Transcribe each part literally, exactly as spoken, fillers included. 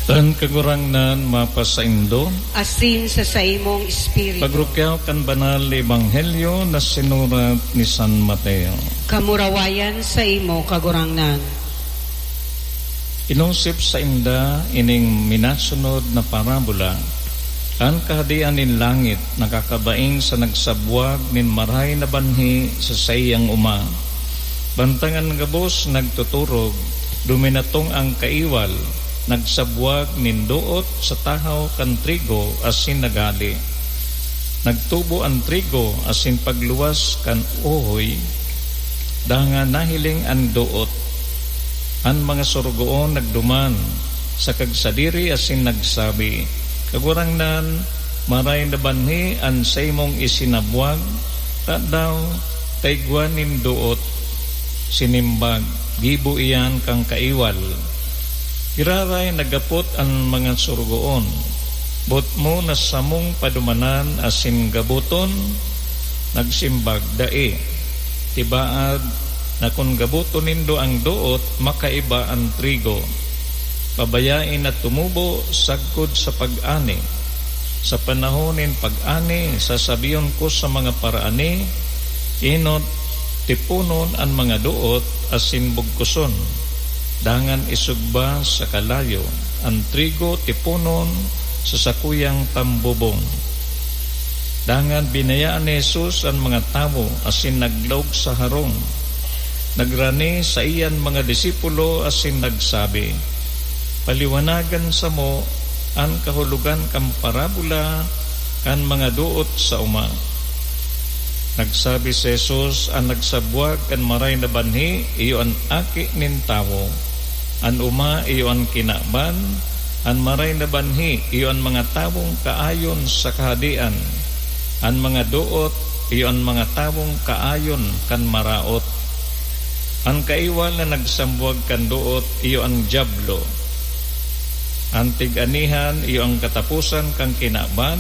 An Kagurangnan mapasaindo. Asin sa saimong espiritu. Pagrukyaw kan Banal na Ebanghelyo na sinurat ni San Mateo. Kamurawayan saimo, Kagurangnan. Inosip sainda ining minasunod na parabola, an Kahadean nin langit nakakabaing sa nagsabwag nin marahay na banhi sa saiyang oma. Bantang an gabos nagtuturog, duminatong an kaiwal, nagsabwag nin doot sa tahaw kan trigo asin naghale. Nagtubo an trigo asin pagluwas kan uhoy, dangan nahiling an doot. An mga sorogoon nagduman sa kagsadiri asin nagsabi, "Kagurangnan, maray na banhi an saimong isinabwag, tadaw ta igwa nin doot?" Sinimbag, "Gibo iyan kan kaiwal." Giraray naghapot an mga sorogoon, "Boot mo na samong padumanan asin gaboton?" Nagsimbag, "Dai. Tibaad na kun gaboton nindo an doot, makaiba an trigo. Pabayae na tumubo sagkod sa pag-ani. Sa panahon nin pag-ani, sasabihon ko sa mga paraani, 'Enot, tiponon an mga doot asin bugkoson, dangan isugba sa kalayo. An trigo tiponon sa sakuyang tambobong.'" Dangan binayaan ni Jesus an mga tawo asin naglaog sa harong. Nagrani saiya an mga disipulo asin nagsabi, "Paliwanagan samo an kahulogan kan parabola kan mga doot sa oma." Nagsabi si Jesus, "An nagsabwag kan maray na banhi iyo an Aki nin Tawo. An oma iyo an kinaban, an maray na banhi iyo an mga tawong kaayon sa Kahadean, an mga doot iyo an mga tawong kaayon kan maraot. An kaiwal na nagsambwag kan doot iyo an Diablo. An tig-anihan iyo an kataposan kan kinaban,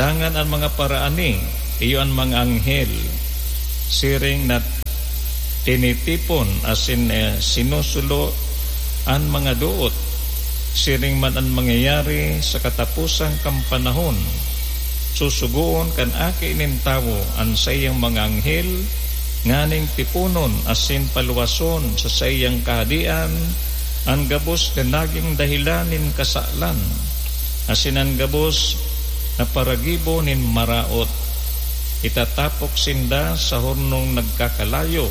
dangan an mga paraani iyo an mga anghel. Siring na tinitipon asin, eh, sinusulo an mga doot, siring man an mangyayari sa kataposan kan panahon. Susugoon kan Aki nin Tawo an saiyang mga anghel nganing tiponon asin paluwason sa saiyang kahadean an gabos na nagin dahelan nin kasalan, asin an gabos na paragibo nin maraot. Itatapok sinda sa hornong nagkakalayo.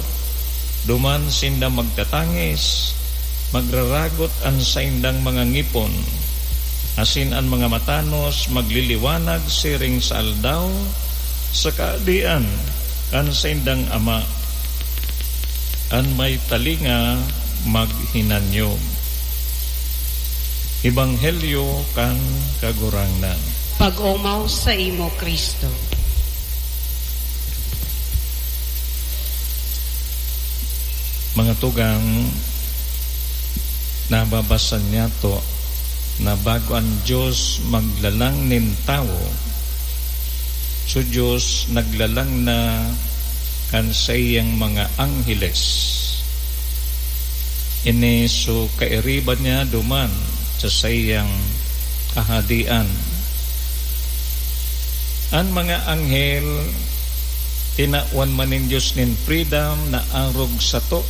Duman sinda magtatangis, magraragot an saindang mga ngipon, asin an mga matanos magliliwanag siring sa aldaw sa kaadian kan saindang Ama. An may talinga, maghinanyog." Ebanghelyo kan Kagurangnan. Pag-omaw saimo, Cristo. Mga tugang, nababasa niyato na bago an Dios maglalang nin tawo, so Dios naglalang na kan saiyang mga angheles. Ini so kairiba niya duman sa saiyang kahadean. An mga anghel, tinawan man nin Dios nin freedom na arog sato.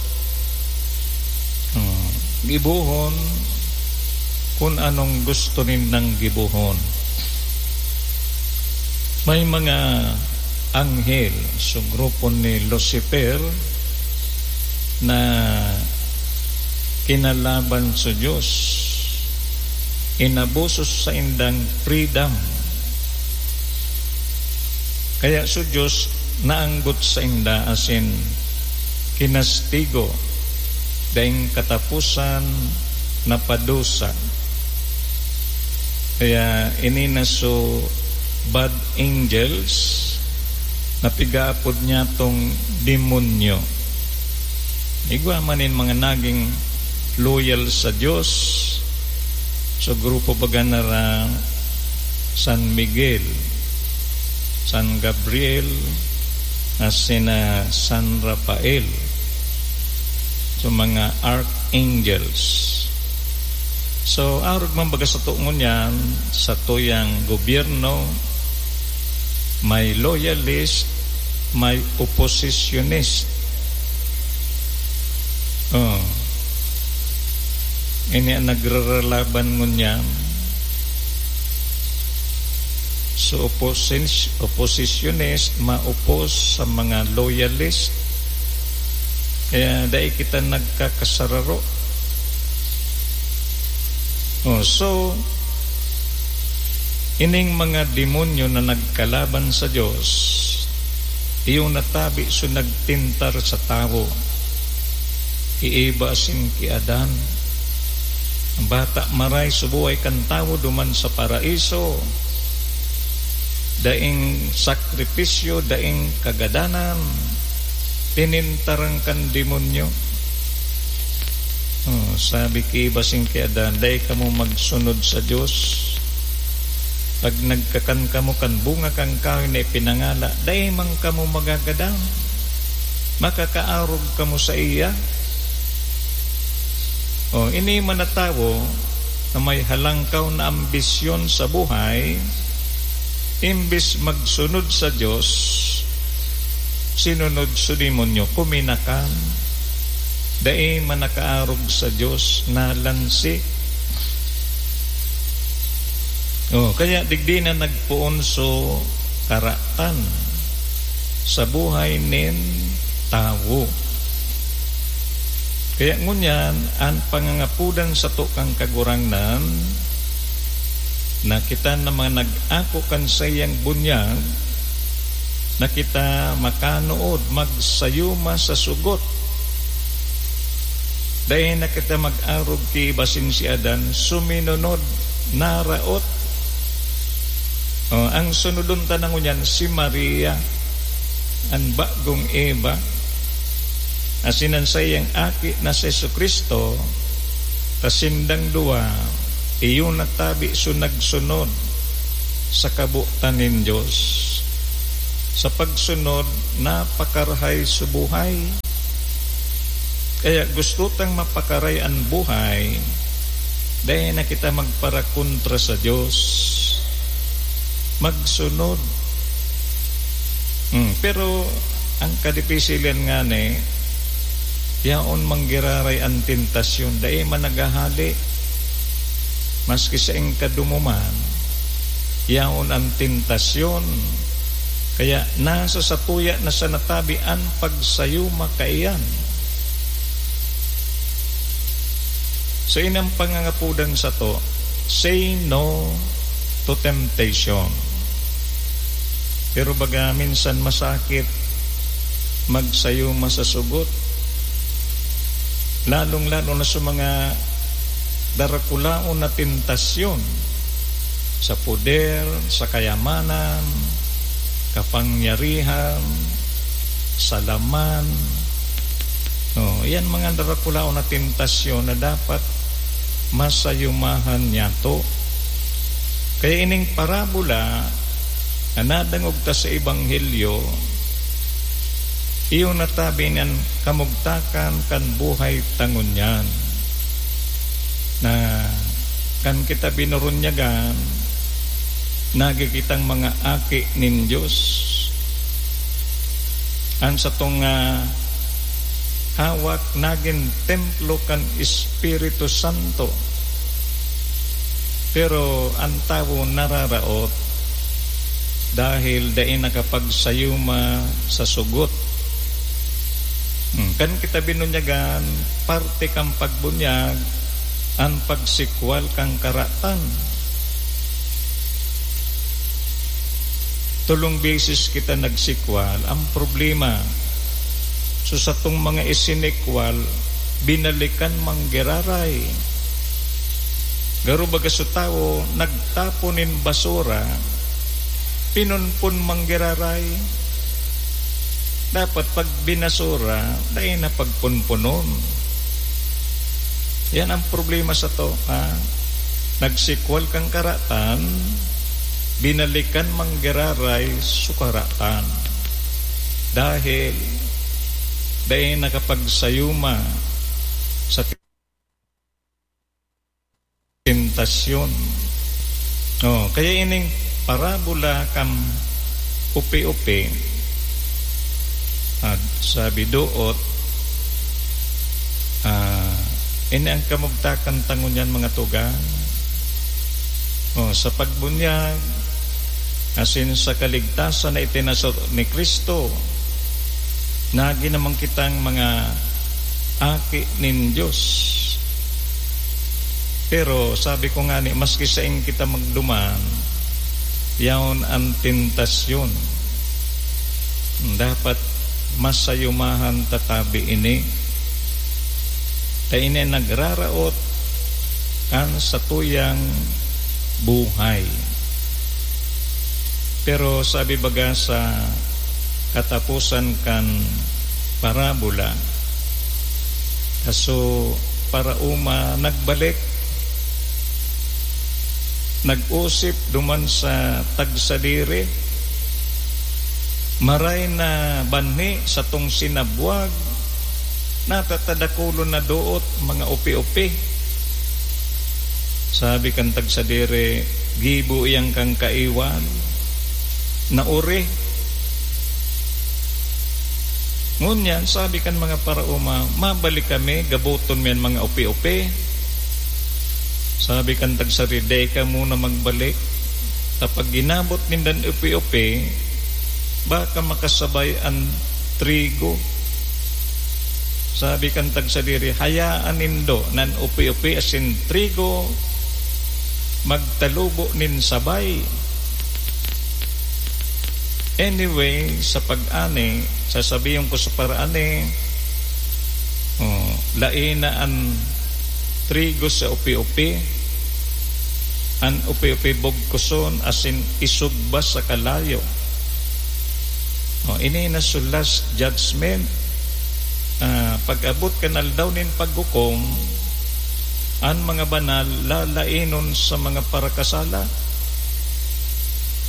Hmm, gibohon kun anong gusto nindang gibohon. May mga anghel sa grupo ni Lucifer na kinalaban sa Dios, inabuso saindang freedom. Kaya sa Dios naanggot sainda asin kinastigo, daing kataposan na padusa. Kaya ini na so bad angels na pigaapod niya tong demonyo. Igwa man nin mga naging loyal sa Dios, sa grupo baga na ra San Miguel, San Gabriel, asin na San Rafael, sa mga archangels. So, arog man baga sato ngunyan, satuyang gobyerno, may loyalist, may oppositionist. Oh. Ini an nagraralaban ngunyan. So, opposis-, oppositionist, ma-oppose sa mga loyalist. Kaya dai kita nagkakasararo. Oh, so, ining mga demonyo na nagkalaban sa Dios, iyo natabi so nagtentar sa tawo. Ki Eva asin ki Adan. An bata maray subuhay kan tawo duman sa paraiso. Daing sakripisyo, daing kagadanan, tinentaran kan demonyo. Oh, sabi ki Eva asin ki Adan, "Dai kamo magsunod sa Dios. Pag nagkakan kamo kan bunga kan kahoy na ipinangala, dai man kamo magagadan. Makakaarog kamo saiya." Oh, ini man na tawo na may halangkaw na ambisyon sa buhay, imbes magsunod sa Dios, sinunod so demonyo, kuminakan. Dai man nakaarog sa Dios, nalansi. Oh, kaya digdi na nagpoon so karatan sa buhay nin tawo. Kaya ngunyan, an pangangapodan sato kan Kagurangnan, na kita na mga nag-ako kan saiyang bunyag, na kita makanood, magsayuma sa sugot. Dai na kita mag-arog ki Eva asin si Adan, suminunod, naraot. Oh, ang sunodon ta na ngunyan, si Maria, an bagong Eva, asin an saiyang aki na si Jesu-Cristo, ta sindang duwa, iyo natabi so nagsunod sa kabotan nin Dios. Sa pagsunod, napakarahay so buhay. Kaya gusto tang mapakaray an buhay, dai na kita magparakontra sa Dios. Magsunod. Hmm, pero ang kadipisilan ngani, yaon manggiraray an tentasyon, dai man naghahale. Maski saing ka dumuman, yaon an tentasyon. Kaya nasa satuya na sa natabi an pagsayuma kaiyan. So, ini an pangangapodan sato, say no to temptation. Pero baga minsan masakit magsayuma sa sugot, lalong-lalo na sa mga darakulaon na tentasyon, sa poder, sa kayamanan, kapangyarihan, sa laman. No, iyan mga darakulaon na tentasyon na dapat masayumahan niyato. Kaya ining parabola na nadangog ta sa Ebanghelyo, iyo natabi nin kamugtakan kan buhay ta ngunyan, na kan kita binurunyagan, nagi kitang mga aki nin Dios. An satong, ah, hawak nagin templo kan Espiritu Santo. Pero an tawo nararaot dahil dai nakapagsayuma sa sugot. Hmm, kan kita binunyagan, parte kan pagbunyag an pagsikwal kan karatan. Tolong beses kita nagsikwal. Ang problema, so satong mga isinikwal, binalikan manggiraray. Garo baga so tawo, nagtapon nin basura, pinunpon manggiraray. Dapat pag binasura, dai na pagpunpunon. Yan ang problema sato, ha? Nagsikwal kan karatan, binalikan manggiraray so karatan. Dahil dai nakapagsayuma sa tentasyon. Oh, kaya ining parabola kan upi-upi, at sabi doot, ah, ini ang kamugtakan ta ngunyan, mga tugang. Oh, sa pagbunyag, asin sa kaligtasan na itinasot ni Cristo, nagin naman kitang mga aki nin Dios. Pero sabi ko ngani, maski saen kita magduman, yaon an tentasyon. Dapat masayumahan ta tabi ini. Ta ini an nagraraot kan satuyang buhay. Pero sabi baga sa kataposan kan parabola, aso paraoma nagbalik, nag-osip duman sa tagsadiri, maray na banhi satong sinabwag, natatadakulon na doot, mga upi-upi. Sabi kan tagsadiri, "Gibo iyan kan kaiwal, naori." Ngunyan, sabi kan mga paraoma, "Mabalik kami, gaboton mi an mga upi-upi." Sabi kan tagsadiri, "Dai kamo na magbalik. Ta pag ginabot nindan upi-upi, baka makasabay an trigo." Sabi kan tagsadiri, "Hayaan nindo na an upi-upi asin trigo magtalubo nin sabay." Anyway, sa pag-ani, sasabihon ko sa paraani, oh, laena an trigo sa upi-upi, an upi-upi bugkuson asin isugba sa kalayo. Oh, ini na so last judgment. Ah, pag-abot kan aldaw nin paghukom, an mga banal lalaenon sa mga parakasala.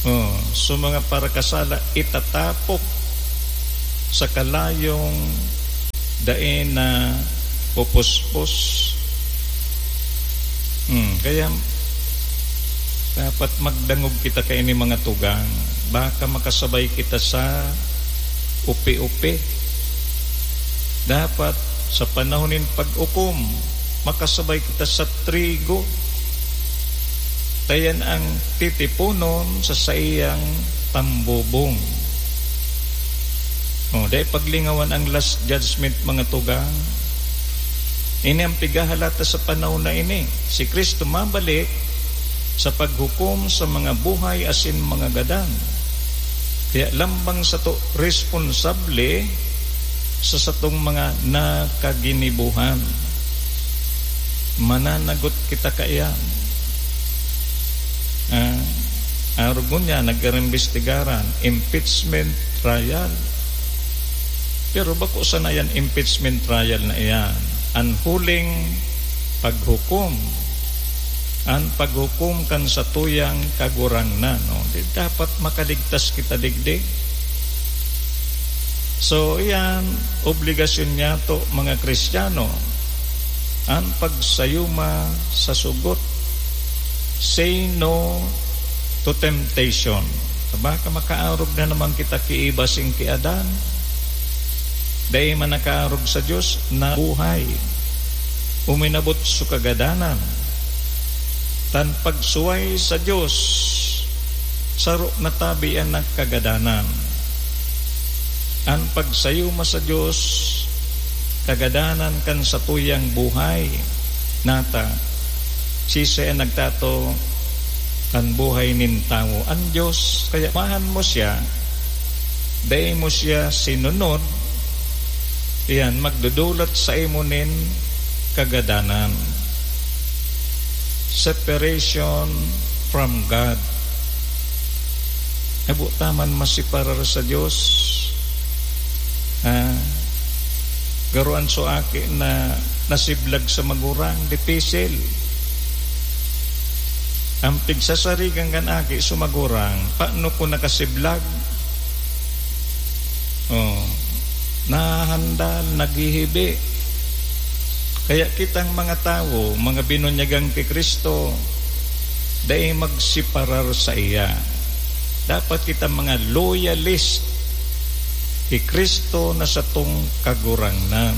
Oh, so mga parakasala itatapok sa kalayong dai na pupuspos. Hmm, kaya dapat magdangog kita kaini, mga tugang. Baka makasabay kita sa upi-upi. Dapat sa panahon nin pag-ukom, makasabay kita sa trigo. Ta iyan ang titiponon sa saiyang tambubong. Oh, dai paglingawan ang last judgment, mga tugang. Ini ang pigahalata sa panahon na ini. Si Cristo mabalik sa paghukom sa mga buhay asin mga gadan. Kaya lambang sato responsable sa satong mga nakaginibohan. Mananagot kita kaiyan. Ah, arog ngunyan, nag-iimbestigaran, impeachment trial. Pero bako sana yan impeachment trial na iyan. An huling paghukom, an paghukom kan satuyang Kagurangnan, no? Di dapat makaligtas kita digdi. So, iyan, obligasyon niyato, mga Kristiyano, an pagsayuma sa sugot. Say no to temptation. Baka makaarog na naman kita ki Eva asin ki Adan. Dai man nakaarog sa Dios na buhay. Uminabot so kagadanan. Tan pagsuway sa Dios, saro na tabi an kagadanan. An pagsayuma sa Dios, kagadanan kan satuyang buhay. Nata, siisay an nagtato kan buhay nin tawo? An Dios. Kaya mahan mo siya, dai mo siya sinunod, iyan, magdudulat saimo nin kagadanan. Separation from God. Habo ta man maseparar sa Dios. Ha? Garo an so aki na nasiblag sa magurang, dipisil. An pigsasarigan kan aki, so magurang, paano kun nakasiblag? Oh, nahahandal, naghihibi. Kaya kitang mga tawo, mga binunyagan ki Cristo, dai magseparar saiya. Dapat kita mga loyalist ki Cristo na satong Kagurangnan.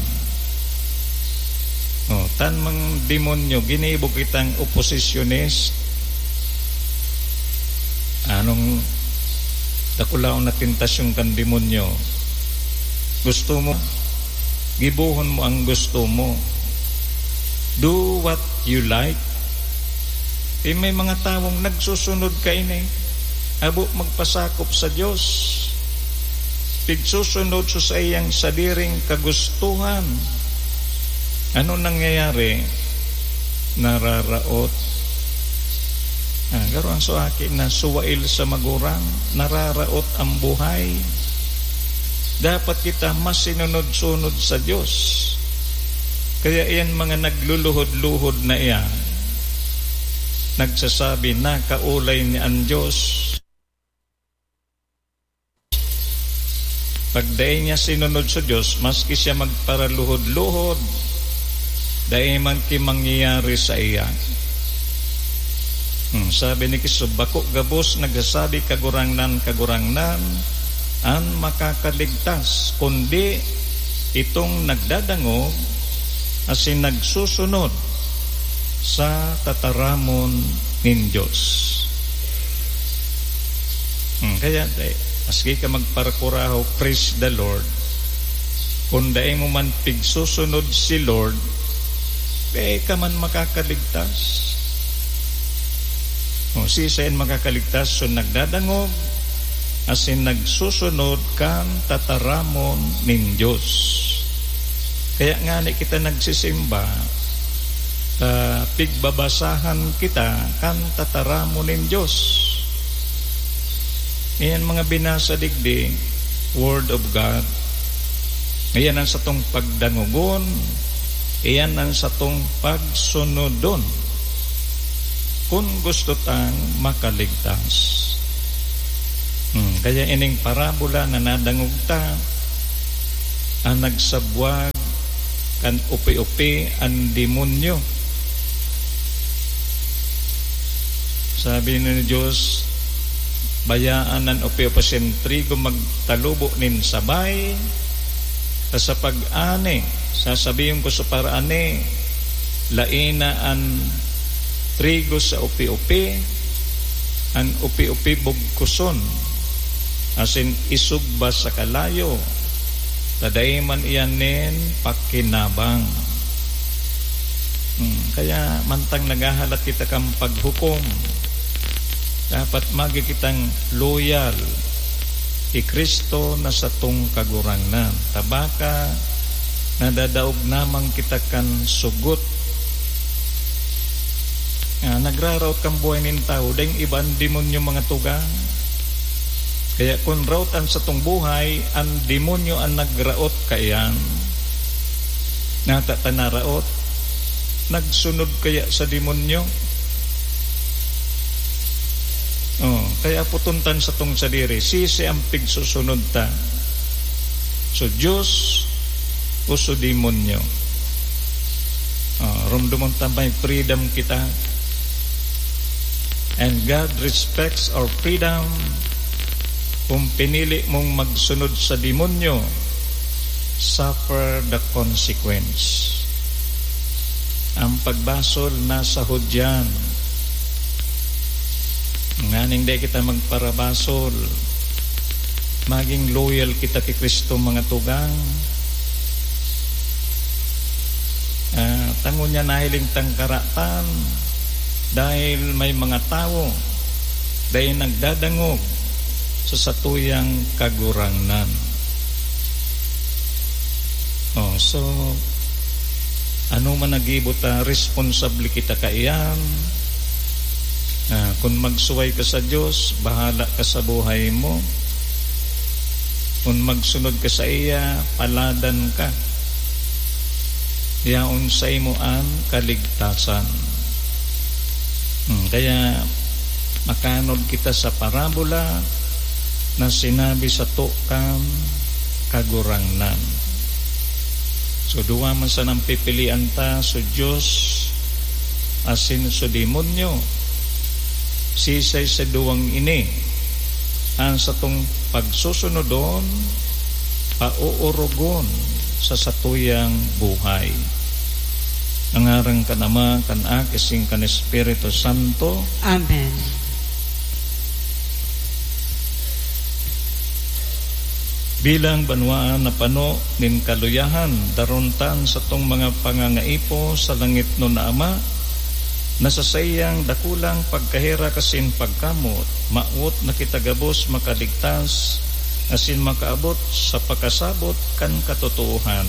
O, tan mga demonyo, ginibo kitang oposisyonist. Anong dakulaon na tentasyon kan demonyo? Gusto mo, gibohon mo ang gusto mo. Do what you like. Eh, may mga tawong nagsusunod kaini, habo magpasakop sa Dios. Pigsusunod sa saiyang sadiring kagustuhan. Ano nangyayari? Nararaot. Ah, garo ang suaki na suwail sa magurang, nararaot ang buhay. Dapat kita masinunod-sunod sa Dios. Kaya iyan mga nagluluhod-luhod na iyan, nagsasabi, "Nakaolay niya an Dios." Pag dai niya sinunod sa Dios, maski siya magparaluhod-luhod, dai man ki mangyayari saiya. Hmm, sabi ni Cristo, "Bako gabos nagsasabi, 'Kagurangnan, Kagurangnan,' an makakaligtas, kundi itong nagdadangog asin nagsusunod sa tataramon nin Dios." Hmm, kaya, eh, maski ka magparakurahaw, "Praise the Lord," kun dai mo man pigsusunod si Lord, dai ka man makakaligtas. O, siisay an makakaligtas? So, nagdadangog asin nagsusunod kan tataramon nin Dios. Kaya ngani kita nagsisimba, ta pigbabasahan kita kan tataramon nin Dios. Iyan mga binasa digdi, Word of God. Iyan an satong pagdangogon, iyan an satong pagsunodon, kun gusto tang makaligtas. Hmm, kaya ining parabola na nadangog ta, an nagsabwag kan opi-opi an demonyo. Sabi ni Dios, "Bayaan an opi-opi asin trigo magtalubo nin sabay, ta sa pag-ani, sasabihon ko sa paraani, laena an trigo sa opi-opi, an opi-opi bugkuson, asin isugba sa kalayo, ta dai man iyan nin pakinabang." Hmm, kaya mantang naghahalat kita kan paghukom, dapat magi kitang loyal ki Cristo na satong Kagurangnan. Ta baka nadadaog na man kita kan sugot. Ah, nagraraot kan buhay nin tawo, daing iba an demonyo, mga tugang. Kaya kun raot an satong buhay, an demonyo an nagraot kaiyan, nata ta naraot, nagsunod kaya sa demonyo? Oh, kaya puton tan satong sadiri, siisay an pigsusunod ta? So Dios o so demonyo? Ah, rumdomon ta may freedom kita. And God respects our freedom. Kung pinili mong magsunod sa demonyo, suffer the consequence. Ang pagbasol nasa Hudyan. Nganing dai kita magparabasol, maging loyal kita ki Cristo, mga tugang. Ah, ta ngunyan nahiling tang karatan, dahil may mga tawo dai nagdadangog sa satuyang Kagurangnan. Oh, so, ano man na gibo ta, responsable kita kaiyan. Ah, kun magsuway ka sa Dios, bahala ka sa buhay mo. Kun magsunod ka saiya, paladan ka. Yaon saimo an kaligtasan. Hmm, kaya makanod kita sa parabola na sinabi sato kan Kagurangnan. So, duwa man sanang pipilian ta, so Dios asin so demonyo. Sisay sa duwang ini an satong pagsusunodon, pauorogon sa satuyang buhay? Sa ngaran kan Ama, kan Aki, asin kan Espiritu Santo. Amen. Bilang banwaan na pano nin kaluyahan, darontan satong mga pangangaipo sa langitnon na Ama, na sa saiyang dakulang pagkaherak asin pagkamot, mawot na kita gabos makaligtas asin makaabot sa pakasabot kan katotoohan.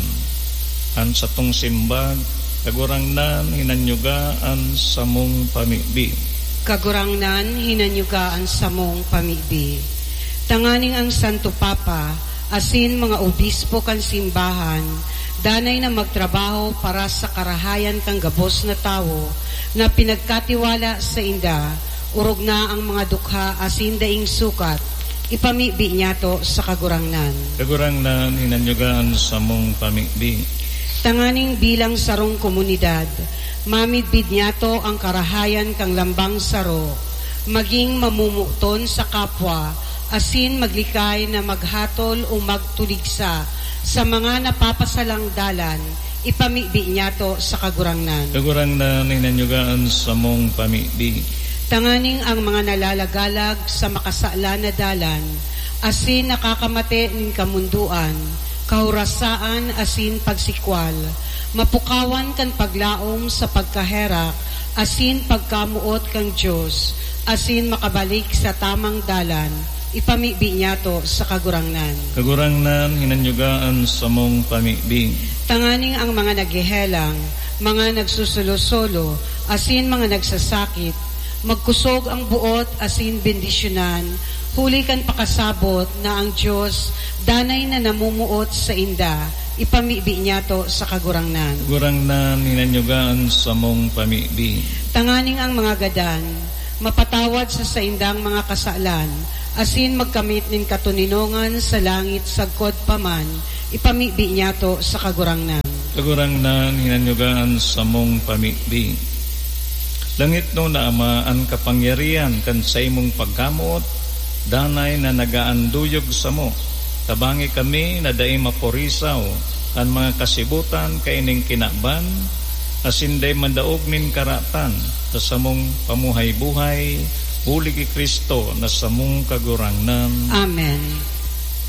An satong simbag: Kagurangnan, hinanyuga an samong pamibi. Kagurangnan, hinanyuga an samong pamibi. Tanganing ang Santo Papa asin mga obispo kan simbahan danay na magtrabaho para sa karahayan kan gabos na tawo na pinagkatiwala sainda, orog na ang mga dukha asin daing sukat, ipamibi niyato sa Kagurangnan. Kagurangnan, hinanyuga an samong pamibi. Tanganing bilang sarong komunidad, mamidbid niyato ang karahayan kan lambang saro, magin mamomoton sa kapwa, asin maglikay na maghatol o magtuligsa sa mga napapasalang dalan, ipamibi niyato sa Kagurangnan. Kagurangnan, hinanyuga an samong pamibi. Tanganing ang mga nalalagalag sa makasalan na dalan, asin nakakamate nin kamundoan, kahorasaan asin pagsikwal, mapukawan kan paglaom sa pagkaherak asin pagkamoot kan Dios, asin makabalik sa tamang dalan, ipamibi niyato sa Kagurangnan. Kagurangnan, hinanyuga an samong pamibi. Tanganing ang mga naghehelang, mga nagsusolo-solo, asin mga nagsasakit, magkusog ang buot asin bendisyonan, huli kan pakasabot na ang Dios danay na namumuot sainda, ipamibi niyato sa Kagurangnan. Kagurangnan, hinanyuga an samong pamibi. Tanganing ang mga gadan, mapatawad sa saindang mga kasalan, asin magkamit nin katoninongan sa langit sagkod pa man, ipamibi niyato sa Kagurangnan. Kagurangnan, hinanyuga an samong pamibi. Langitnon na Ama, an kapangyarihan kan saimong pagkamoot danay na nag-aanduyog samo. Tabangi kami na dai mapurisaw kan mga kasibutan kaining kinaban, asin dai mandaog nin karatan sa samong pamuhay-buhay, huli ki Cristo na samong Kagurangnan. Amen.